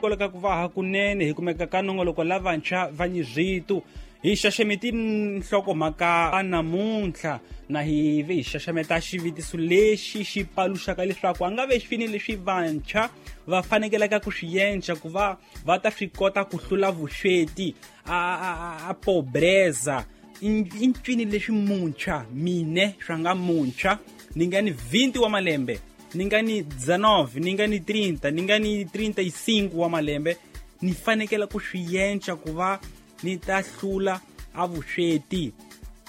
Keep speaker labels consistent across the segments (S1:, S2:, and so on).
S1: Koleka ku va hakunene hi kumeka ka nongoloko lavantshwa va nyizvitu hi xaxameti nhlokomhaka namuntlha na hi ve hi xaxameta xivutiso lexi xi paluxaka leswaku a nga ve xifini leswi vantshwa va fanekelaka ku swi yenca ku va va ta swi kota ku hlula vusweti a pobreza i ncwini leswi muntshwa mine swa nga muntshwa ni nga ni 20 wa malembe ni nga ni 19 ni nga ni 30 ni nga ni 35 wa malembe ni fanekela ku swi yenca ku va ni ta hlula a vusweti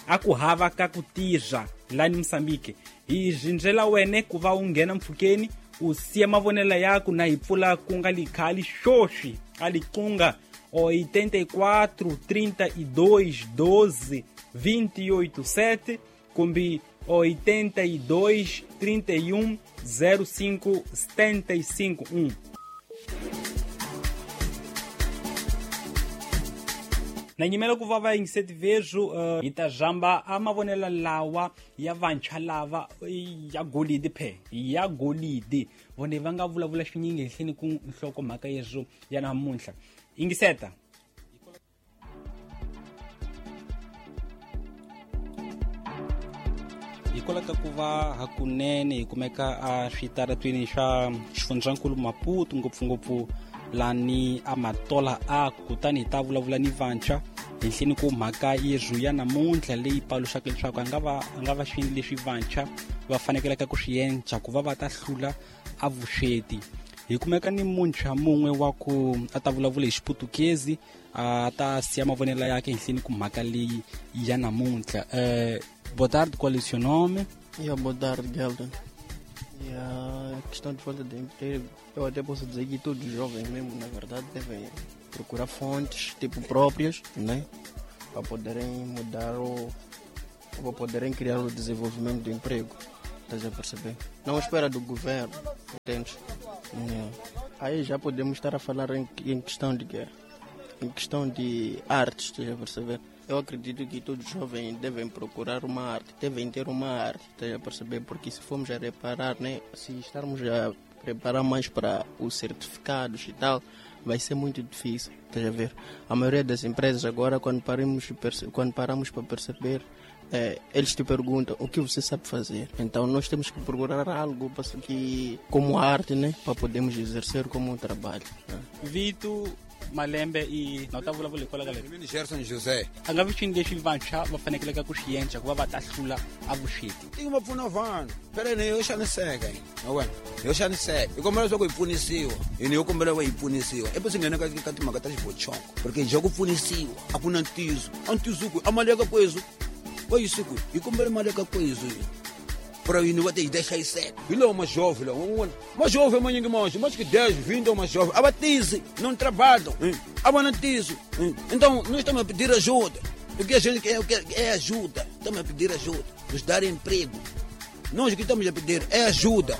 S1: a ku hava ka ku tirha lani Mozambique hi rindzela wene ku va u nghena mpfhukeni u siya mavonelo yaku na hi pfula ku nga likhali xoswi a liqunga 84 32 12 28 7 kumbe 82 31 05 75 1. Na nyimela ku va va yingiseti vezu hi ta zhamba a mavonelo lawa ya vantshwa lava ya golidi phe ya golidi vone va nga vulavula swinyingi henhleni ku nhlokomhaka yezwo ya namuntlha yingiseta. Hikwalaho ka ku va hakunene hi kumeka a switaratweni swa xifundzankulu Maputo ngopfungopfu lani a Matola a kutani hi ta vulavula ni vantshwa henhleni ku mhaka yezwu ya namuntlha leyi paluxaka leswaku a nga va xini leswi vantshwa va fanekelaka ku swi yenca ku va va ta hlula a vusweti. Hi kumeka ni muntshwa mun'we wa ku a ta vulavula hi Xiputukezi a ta siya mavonelo yakhe henhleni ku mhaka leyi ya namuntlha. Boa tarde, qual é o seu nome?
S2: Yeah, boa tarde, Gelton. E a questão de falta de emprego, eu até posso dizer que todos os jovens mesmo, na verdade, devem procurar fontes tipo próprias, né? Para poderem mudar ou para poderem criar o desenvolvimento do emprego. Estás a perceber? Não espera do governo, entende? Yeah. Aí já podemos estar a falar em questão de quê? Em questão de artes, estás a perceber? Eu acredito que todos os jovens devem procurar uma arte, devem ter uma arte, estás a perceber? Porque se formos a reparar, né, se estarmos a preparar mais para os certificados e tal, vai ser muito difícil, estás a ver? A maioria das empresas agora, quando paramos para perceber, eles te perguntam o que você sabe fazer. Então nós temos que procurar algo que, como arte, né, para podermos exercer como um trabalho. Né?
S1: Vito Malembe i na ta vulavula hikwalaho ka
S3: leswi Gerson José
S1: a nga vi xini lexi vantshwa va fanekeleka ku xi endla ku va va ta hlula a vusweti.
S3: Tiko va pfuna vanhu phela ni yo xaniseka na wena yo xaniseka hi kombela leswaku hi pfunisiwa hini yo kombela ku hi pfunisiwa i swi nghena ka timhaka ta xivochongo porque hi ku pfunisiwa a ku na ntiyiso a ntiyiso ku a mali ya ka kwezu va yisi kwihi hi kombela mali ya ka kwezu para yini va te hi ta hlayiseka hi lowo majovhe lawa un'wana majovhe manyingi manji mais que 10 20 majovhe a va tisi não trabalham a va na ntiyiso. Então nós estamos a pedir ajuda. O que a gente quer é ajuda. Estamos a pedir ajuda, nos dar emprego. Nós o que estamos a pedir é ajuda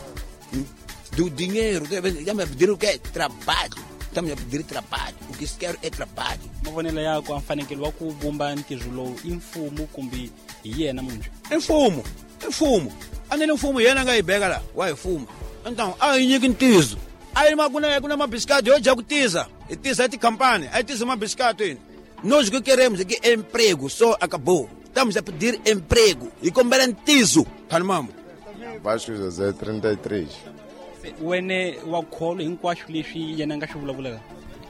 S3: do dinheiro. Estamos a pedir o que é trabalho. Estamos a pedir trabalho. O que se quer é trabalho.
S1: Mavonelo yakho a mfanekelo wa ku vumba ntirho lowu i mfumo kumbe hi yena muntshwa?
S3: I mfumo. I mfumo. A ni mfumo yena nga yi beka la wa hi fuma. Então a hi nyiki ntiyiso. A yi ku na mabisikati yo dya ku tiza. Hi tiza tikhampani, a yi tiza mabisikati yini. Nós o que queremos é que emprego, só acabou. Estamos a pedir emprego. Hi kombela ntiyiso. Phalimamo.
S4: Vasco José 33.
S1: Wene wa kholo hinkwaswo leswi yena nga swi vulavulaka?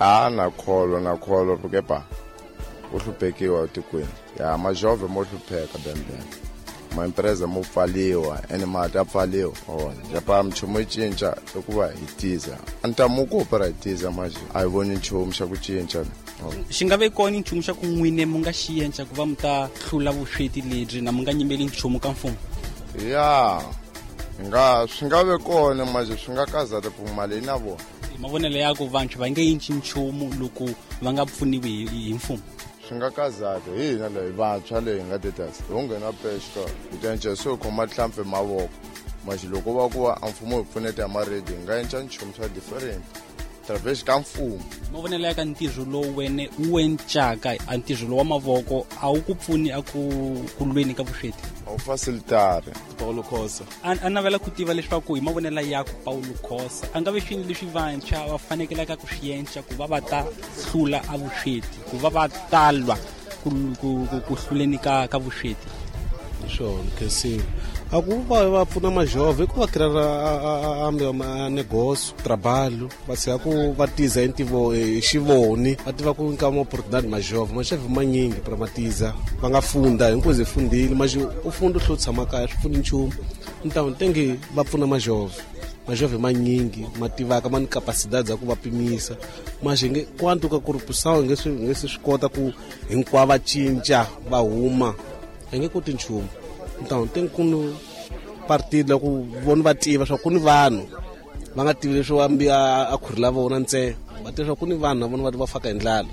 S4: A na kholo porque pa u hluphekiwa etikweni. Ya majove mo hlupheka bembe. Ma empresa mo pfaliwa ene mati a pfaliwa. Ona japa mchumo yi cinca i ku va hi tiza. A ni ta mu ku para hi tiza manje a hi voni nchumu xa ku cinca.
S1: Xi nga ve kona nchumu xa ku n'wine mu nga xi endla ku va mu ta hlula vusweti lebyi na mu nga nyimeli nchumu ka mfumo?
S4: Ya nga swi nga ve kona manje swi nga kazata ku mali na vona.
S1: Mavonelo ya ku vantshwa va nge yinci nchumu loko va nga pfuniwi hi mfumo?
S4: Swi nga kazata hi hina leyi vantshwa leyi hi nga tetasi hi nghena pexka hi ta cinca swo khoma hlampfi mavoko manje loko va ku va a mfumo hi pfuneta hi maredi hi nga cinca nchumu swa different. Através ka mfumo.
S1: Mavonelo ya ka ntirho lowu wene wu encaka a ntirho lowu wa mavoko a wu ku pfuni a ku lweni ka vusweti.
S4: A wu facilitari.
S5: Paulo Khosa.
S1: A navela ku tiva leswaku hi mavonelo ya ku Paulo Khosa a nga ve swini leswi vantshwa va fanekelaka ku swi endla ku va va ta hlula a vusweti, ku va va talwa ku hluleni ka vusweti.
S5: Swona khensiwa. A ku va pfuna majove ku va kirara a negócio, trabalho, va tshika ku va tiza intivo xivoni, va tiva ku nka ma oportunidade majove manyingi para matiza, va nga funda hinkwezi hi fundile, mas u funda u hlula tshama kaya swi pfuni nchumu. Então tem que va pfuna majove. Majove manyingi ma tivaka ma ni capacidade ya ku va pimisa, mas nge quanto ka corrupção nge swi kota ku hinkwavo va cinca va huma, hi nge koti nchumu. Então tem ku partido ku vona va tiva swa ku ni vanhu va nga tivi leswi ambi a khuri la vona ntsena, va tiva swa ku ni vanhu na vona va faka hi ndlala.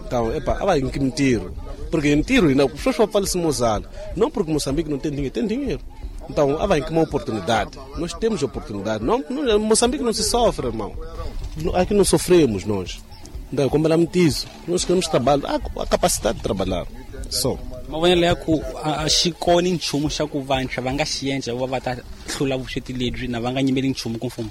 S5: Então epa a va hi nyiki mintirho, porque hi ntirho hina sweswi va pfalisa Mozala, não porque Moçambique não tem dinheiro, tem dinheiro. Então a vai uma oportunidade, nós temos oportunidade. Não, não, Moçambique não se sofre, irmão. Aqui não sofremos nós. Então como ela me diz, nós queremos trabalho, a capacidade de trabalhar só.
S1: Mavonelo ya ku a xi kona nchumu xa ku vantshwa va nga xi endla va va ta hlula vusweti lebyi na va nga nyimeli nchumu ku mfumo.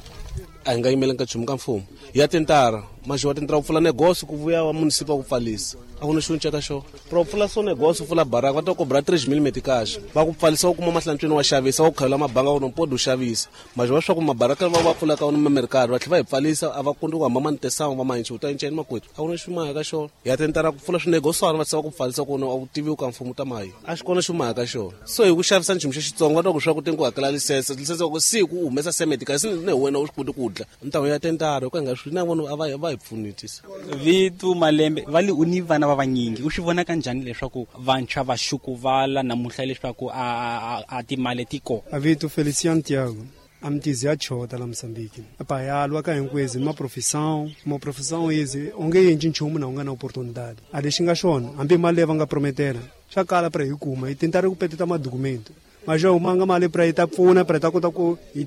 S5: A hi nga yimeli ka nchumu ka mfumo. Ya tentara, mas wa tentara ku pfula negócio ku vuya wa municipal ku pfalisa. A ku na xo cinca ka xona. Pro pfula so negócio pfula baraka va ta cobra 3.000 meticais. Va ku pfalisa u kuma mahlantsweni wa xavisa, wa ku khavela mabanga u no pode u xavisa. Mas va swa ku mabaraka va va pfula ka wona mercado, va tlhela va hi pfalisa a va kundi ku hamba mantesawu va manchi u ta enceni makwetu. A ku na xo maya ka xona. Ya tentara ku pfula swinegoswana va tsava ku pfalisa ku a wu tivi ka mfumo ta mayi. A xi kona xo maya ka xona. So hi ku xavisa nchumu xa Xitsonga va ta ku swa ku tengu hakela lisense, lisense ku siku u humesa meticais ne wena u swi koti ku dla. Ntawo ya tentara ku nga swi na vona a va hi pfunetisa.
S1: Vitu Malembe va li u ni vana va vanyingi u swi vona kanjhani leswaku vantshwa va xukuvala namuntlha leswaku a timali ti kona?
S6: Avito Feliciano Tiago, a mitizi ya chota la Moçambique. Apa ya lwa ka hinkwezi ma profissão, ma profissão ezi onge yenji nchumu na u nga na oportunidade. A lexi nga xona hambi mali leyi va nga prometela swa kala pra hi kuma hi tentara ku peteta madokumento. Mas já uma mali pra ita pfuna pra ita kota ku hi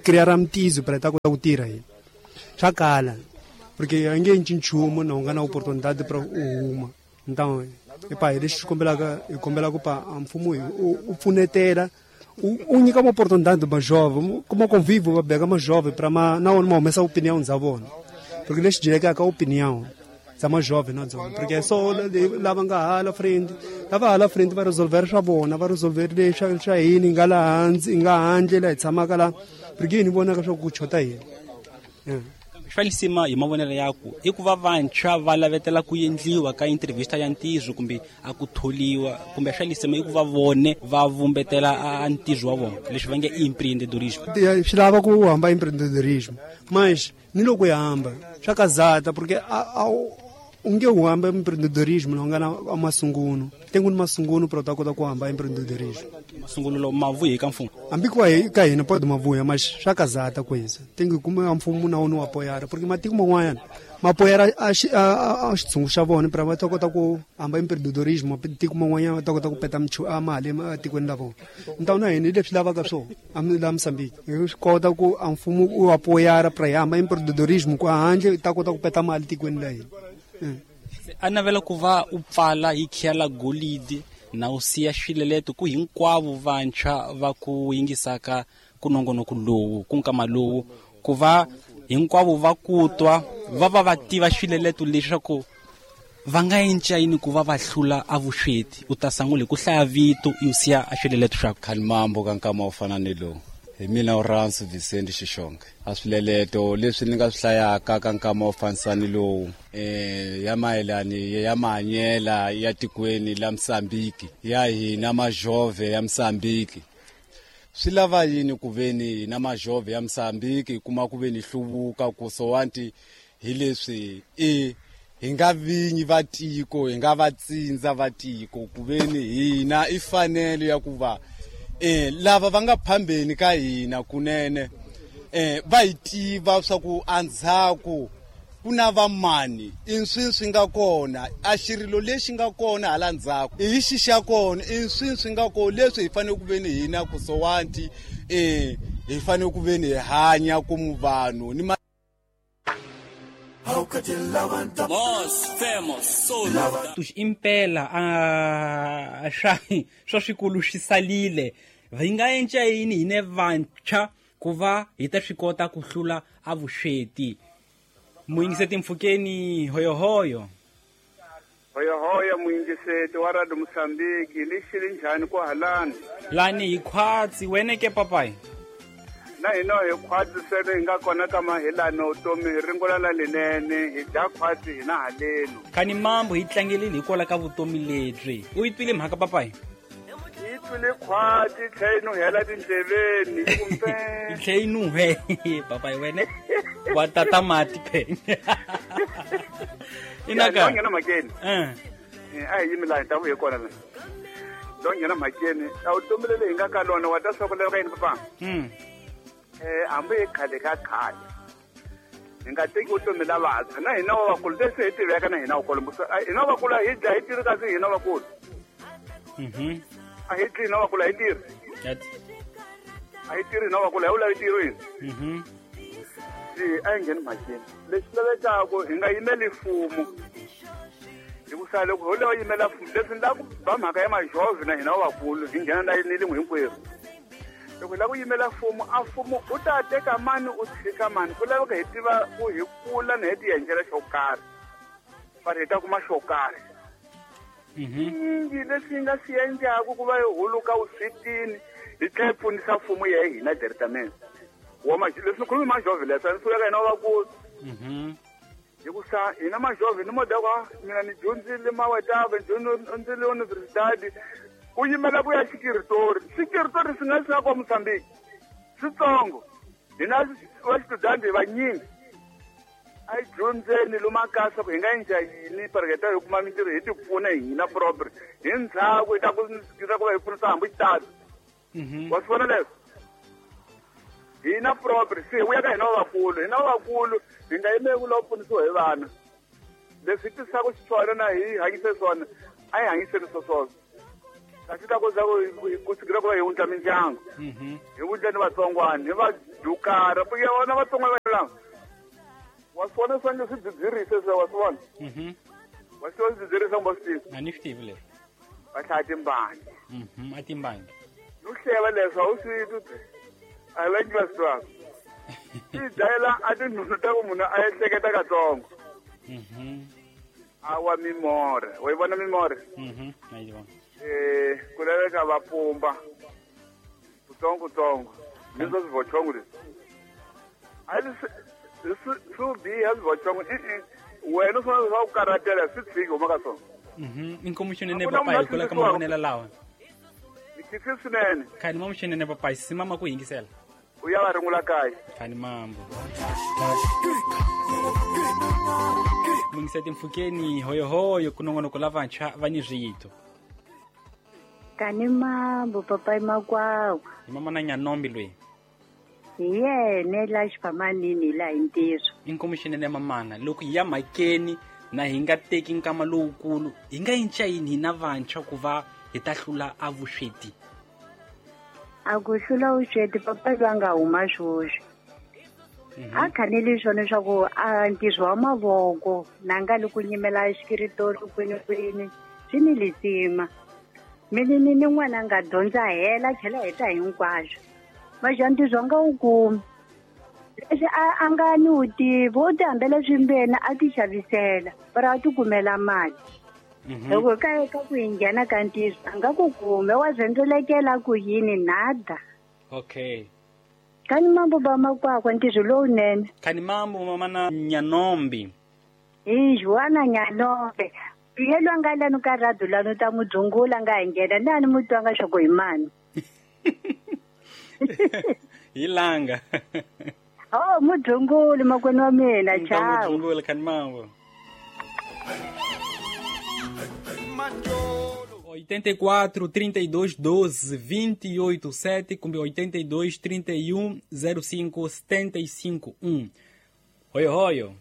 S6: criar mitizi pra ita kota ku tirha hi. Swa kala porque a nge yenji nchumu na u nga na oportunidade pra u huma. Então epa hi lexi kombelaka hi kombela ku pa mfumo u pfunetela u nyika uma oportunidade ba jovem, como convivo va beka ma jovem pra ma na wona ma humesa opinião za vona. Porque lexi dyekaka opinião za ma jovem na dzona, porque só lava nga hala frente, lava hala frente va resolver swa vona, va resolver leswi swa hina nga la hansi, nga handle la hi tshamaka la, porque hina vonaka swa ku chota hina.
S1: Swa lisima hi mavonelo ya ku i ku va vantshwa va lavetela ku endliwa ka entrevista ya ntirho kumbe a ku tholiwa, kumbe swa lisima i ku va vone va vumbetela a ntirho wa vona leswi va nge empreendedorismo.
S6: Swi lava ku hamba empreendedorismo, mas ni loko hi hamba swa kazata porque a u nge u hamba empreendedorismo na u nga na masungulo, tengu ni masungulo pra u ta kota ku hamba empreendedorismo.
S1: Masungulo ma vuyi ka mfumo?
S6: Hambi ku ka hina pode ma vuya, mas swa kazata kweza tengu kuma mfumo na wona wa apoiar, porque matiko man'wanyana ma apoiar a xitshungu xa vona pra va ta kota ku hamba empreendedorismo, matiko man'wanyana va ta kota ku peta a mali ematikweni la vona. Então na hina hi leswi lavaka swona la Moçambique, hi swi kota ku a mfumo u apoiar pra hi hamba empreendedorismo ku handle ta kota ku peta mali tikweni la hina.
S1: A navela ku va u pfala hi khiya la golidi na u siya swileleto ku hinkwavo vantshwa va ku yingisaka ku nongonoko lowu ku nkama lowu ku va hinkwavo va ku twa va va va tiva swileleto leswaku va nga endla yini ku va va hlula a vusweti. U ta sangula hi ku hlaya vito u siya a swileleto swa
S7: Khalimambo ka nkama wo fana ni lowu. Hi mina Uransu Vicente Xixonge. A swileleto leswi ni nga swi hlayaka ka nkama wo fanisa ni lowu ya mayelani ya mahanyela ya tikweni la Mozambique ya hina majove ya Mozambique. Swi lava yini ku veni hina majove ya Mozambique kuma ku veni hluvuka ku sowanti hi leswi i hi nga vinyi va tiko, hi nga va tsindza va tiko ku veni hina i fanele ya ku va lava va nga phambeni ka hina kunene va hi tiva swa ku andzhaku ku na vamani i swi swi nga kona a xirilo lexi nga kona hala ndzhaku i xi xa kona i swi swi nga kona leswi hi fanele ku veni hina ku sowanti hi fanele ku veni hi hanya ku vanhu ni
S1: Impela a swa swikulu swi salile hi nga enca yini hine vantshwa ku va hi ta swi kota ku hlula a vusweti. Muyingiseti mpfhukeni hoyohoyo.
S8: Hoyohoyo muyingiseti wa Radio Mozambique lixi njhani ku halani?
S1: Lani hi khwatsi wena ke papai?
S8: Na hina hi khwatsi sele hi nga kona ka mahilano vutomi hi ringula la linene hi dya khwatsi hina halenu.
S1: Khani mambo hi tlangelile hikwalaho ka vutomi lebyi. U yi twile mhaka papai?
S8: Yi twile khwatsi tlhe yi nuhela tindleveni kumbe
S1: yi tlhe yi nuhe papai wena wa tata mati phe. Inaka
S8: nghena mhakeni. A hi yimi laha hi ta vuye kona la. Lo nghena mhakeni a vutomi leli hi nga ka lona wa ta swa ku laveka yini papa? Hambi hi khale ka khale hi nga teki vutomi la vantshwa na hina wa vakulu leswi hi tiveka na hina vakulu hina vakulu hi dya hi tirhi kasi hina vakulu a hi dyi hina vakulu a hi tirhi a hi tirhi hina vakulu a hi vula hi tirhi hina se a hi ngheni mhakeni lexi lavekaku hi nga yimeli mfumo hikusa loko ho lava yimela mfumo leswi ni lava ku ba mhaka ya majovhi na hina wa vakulu hi nghena na ni lin'we hinkwerhu. Loko hi lava ku yimela mfumo a mfumo u ta teka mani u tshika mani ku laveka hi tiva ku hi kula na hi ti endlela xo karhi va hi ta kuma xo karhi. Yingi leswi nga swi endlaku ku va hi huluka vuswetini hi tlhela hi pfunisa mfumo ya hina directamente wa leswi ni khulumi majovhi leswi a ni suleka hina vakulu hikusa hina majovhi ni modaka mina ni dyondzile mawetava ni dyondzile universidade u yimela ku ya xikiritori xikiritori swi nga swi nga kwa Mozambique switsongo hina va xitudandi hi vanyingi a hi dyondzeni lomakasa ku hi nga endla yini pareketa hi kuma mintirho hi ti pfuna hina proper hi ndzhaku hi ta ku va hi pfunisa hambi xitatu wa swi vona leswo hina proper se hi vuya ka hina vakulu hina vakulu hi nga yimeli ku lava pfunisiwa hi vana leswi tisaka xiswona na hi hanyise swona a hi hanyiseni swoswoswo kasi ta ku za ku sukela ku va hi wundla mindyangu hi wundla ni vatsongwana hi va dukara ya vona vatsongwana va lava wa swi vona swange swi dzidzirise swe wa swi vona wa swi vona swidzidzirisa kumbe swi tivi
S1: a ni swi tivi leswi
S8: va hlaya timbangi
S1: a timbangi
S8: no hleva leswi a wu swi twi a hi langi va swi twaka swi dlayela a tinhunu ta ku munhu a ehleketa katsongo a wa mimore wa yi vona mimore ku laveka va pumba kutsongo kutsongo ni swa swivochongo leswi a swi biha swivochongo i wena u fanele swa ku karhatela swi tshiki huma ka swona.
S1: Inkomu xinene papai hikwalaho ka mavonelo lawa.
S8: Ni khisi swinene.
S1: Khani mambo xinene papai simama ku yingisela.
S8: U ya va ringula kaya.
S1: Khani mambo. Mungiseti mpfhukeni hoyohoyo ku nongonoko la vantshwa va ni swito.
S9: Kani mambo papai makwakwa.
S1: Hi mama na Nyanombi loyi.
S9: Hi yena la xiphamanini la hi ntirho.
S1: Inkomu xinene mamana loko hi ya mhakeni na hi nga teki nkama lowukulu hi nga yinca yini hina vantshwa ku va hi ta hlula a vusweti?
S9: A ku hlula vusweti papai va nga huma swoswi. A khanele swona swa ku a ntirho wa mavoko na nga li ku nyimela xikiritori kwini kwini swi ni lisima. Mina ni n'wana a nga dyondza hela tlhela heta hinkwaswo. Maxa ntirho a nga wu kumi. Leswi a nga ni wu tivi u ti hambela swimbeni a ti xavisela para a ti kumela mali. Loko ka ku hi nghena ka ntirho a nga ku kume wa rhendzelekela ku yini nada.
S1: Okay.
S9: Kani mambo ba makwakwa ntirho lowunene.
S1: Kani mambo mama na Nyanombi.
S9: Hi Juana Nyanombe. Yelo a nga lani ka radio lani u ta n'wi dzungula nga hi nghena na ni mu twanga swa ku hi mani.
S1: Hi langa.
S9: Oh, mudzunguli makwenu wa mina, ciao.
S1: Mudzunguli kani mambo. 84 32 12 28 7 kumbe 82 31 05 75 1. Hoyo hoyo.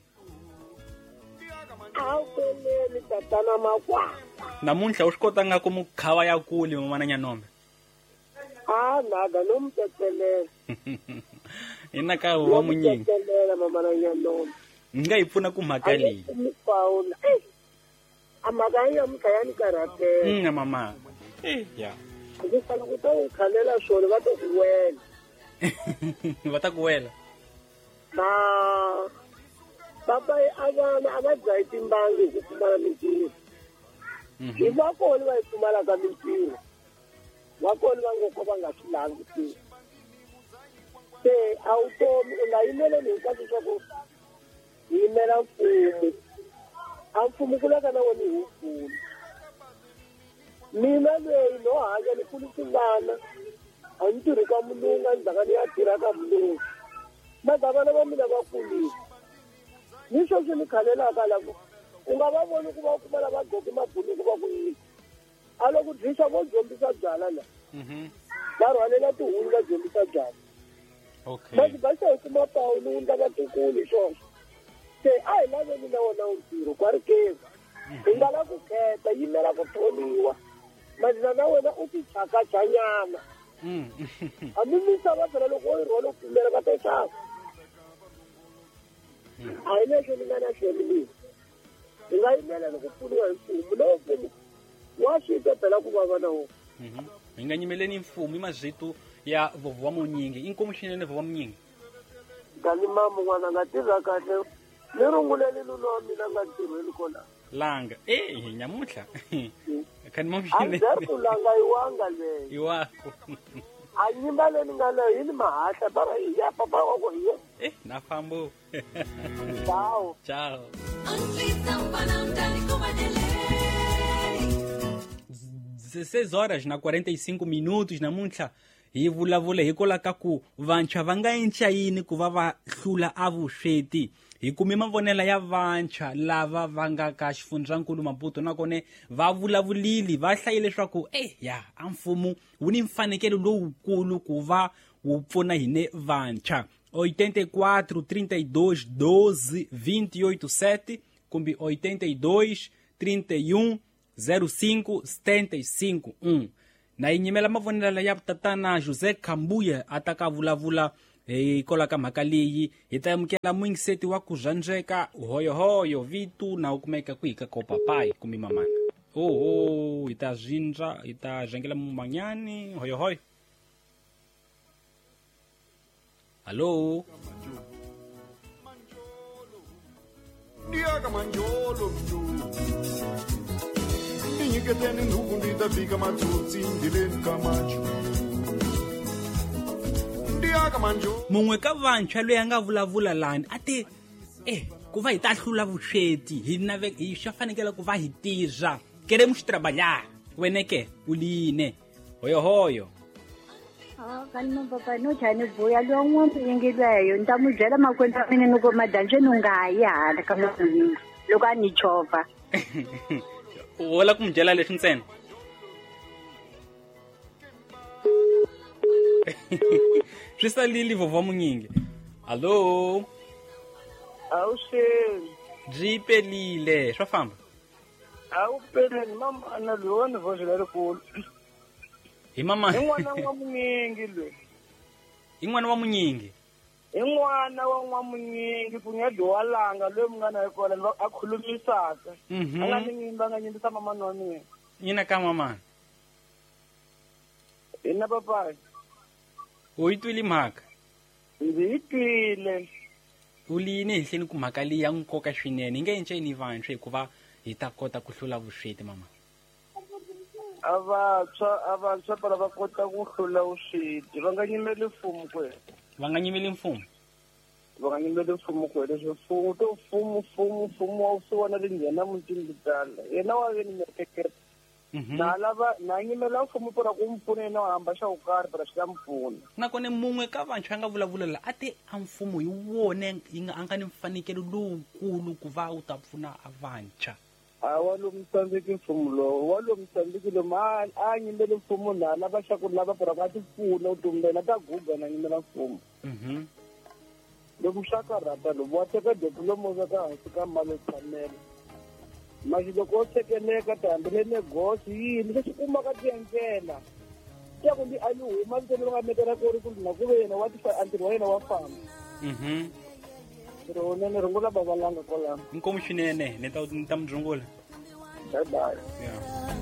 S1: Namuntlha u swi kotanga ku mukhava ya kule mamana Nyanombe.
S10: A nada no mtetelela.
S1: Ina ka wa munyingi.
S10: Mtetelela mamana Nyanombe.
S1: Nga yi pfuna ku mhaka leyi.
S10: Paula. A mhaka ya mhaka ni karate.
S1: Mama. Ya.
S10: Ku fana ku ta u khalela swona va ta ku wela.
S1: Va ta ku wela.
S10: Ba papa avana a va dlayi timbangi hi ku pfumala mintirho. Hi va kona va yi pfumalaka mintirho. Va kona va ngo ko va nga swi lavi ku tirha. Se a wu tomi u nga yimeleli hinkwaswo swa ku yimela mfumo. A mfumo ku laka na wona hi wukulu. Mina leyi no hanya ni kulisa vana a ni tirhi ka mulungu a ndzhaka ni ya tirha ka mulungu. Maka vana va mina va kulile. Ni sweswi ni khalelaka la ku u nga va voni ku va kuma lava gqoke mabuluku va ku yini. A loko dyisa vo dyombisa byala la. Va rhwalela tihulu va dyombisa byala.
S1: Okay.
S10: Masi va se kuma Paulo wu ndla vatukulu swoswo. Se a hi laveni na wona ntirho kwa ri kezi. Hi nga la ku kheta yimela ku tholiwa. Mazina na wena u ti chakachanyana. Hambi misava phela loko wo yi rhwala u pfumela va ta xava. A hi lexo ni nga na xona leyi. Hi nga yimela ni ku pfuniwa hi mfumo. Lowu mfumo wa swi twa phela ku vava na wona.
S1: Hi nga nyimeleni mfumo i mazito ya vovo wa munyingi. Inkomu swinene vovo wa munyingi.
S10: Kani mama n'wana nga tirha kahle. Ni runguleli nuna wa mina nga ntirhweni kona.
S1: Langa. Nyamuhla. Kani mama
S10: A ndzhaku langa iwanga leyi.
S1: Iwako.
S10: A nyimba leyi ni nga leyo yi ni mahahla bara ya papa wa ku hi.
S1: Na fambo.
S10: Ciao.
S1: Ciao. 16 horas na 45 minutos namuntlha hi vulavula hikwalaho ka ku vantshwa va nga endla yini ku va va hlula a vusweti. Hi kume mavonelo ya vantshwa lava va nga ka xifundzankulu Maputo nakona va vulavulile va hlayile leswaku ya a mfumo wu ni mfanekelo lowukulu ku va wu pfuna hine vantshwa. 84 32 12 28 7 kumbe 82 31 05 75 1. Na yi nyimela mavonelo ya tatana José Kambuya a ta ka vulavula hikwalaho ka mhaka leyi. Hi ta amukela muyingiseti wa ku zvandzeka hoyohoyo vitu na u kumeka kwihi ka kopapai kumbe mamana. Oho, hi ta zwindza hi ta zhengela mumanyani hoyohoyo. Hallo.
S11: Ndiaka manjolo ndinyiketeni nduku nditafika matsotsi ndileni kamacho.
S1: Mungwe ka vantshwa loyi a nga vulavula lani a te ku va hi ta hlula vusweti hi nave hi swa fanekele ku va hi tirha. Queremos trabalhar. Wena ke u line. Hoyohoyo.
S9: Kani papa no chani buya lo n'wana yingilweyo ni ta n'wi byela makwenu wa mina ni ku madanje ni nga yi hala ka n'wana loko a ni chovha.
S1: U la ku n'wi byela leswi ntsena. Swi salile vovho munyingi. Hallo.
S12: Awuxeni.
S1: Byi pelile swa famba.
S12: A wu peleni mama na loyi wa ni voxe lerikulu.
S1: Hi mama.
S12: I n'wana wa munyingi loyi.
S1: I n'wana wa munyingi.
S12: I n'wana wa n'wamunyingi ku nga dyiwa langa loyi mi nga na kona a khulumisaka. A nga ni nyimba nga nyimbisa mamana wa mina.
S1: Yina ka mamana.
S12: Ina papai.
S1: U yi twile mhaka?
S12: Ndzi yi twile.
S1: U lini henhleni ku mhaka leyi ya nkoka swinene. Hi nga enceni vantshwa hikuva hi ta kota ku hlula vusweti mama.
S12: A vantshwa pala va kota ku hlula vusweti. Va nga nyimeli mfumo kwena.
S1: Va nga nyimeli mfumo?
S12: Va nga nyimeli mfumo kwena. Leswi mfumo to mfumo wa swi vona le nghena mutini ku tala. Yena wa ve ni miehleketo. Na lava na nyimela mfumo pona ku mpfuna yena wa hamba xa ku karhi pona swi ta mpfuna.
S1: Nakona mun'we ka vantshwa a nga vulavulela a te a mfumo hi wona yi nga a nga ni mfanekelo lowukulu ku va wu ta pfuna a vantshwa.
S12: A wa lomu tsandzeki mfumo lowu, wa lomu tsandzeki lomu a nyimele mfumo na lava xa ku lava pona ku a ti pfuna vutomi bya yena ta guga na nyimela mfumo. Loko swa karhata lomu wa teka diploma u veka hansi ka mali yo tshamela. Masi loko o tsekeleka tihambele negosi yini leswi kumaka tiendlela ya ku a yi huma vitweni ro nga mekela ku ri ku na ku ve yena wa a ntirho wa yena wa famba. Rona ni rungula babalanga kwalano.
S1: Inkomu swinene, ni ta mi rungula.
S12: Bye bye.
S1: Yeah.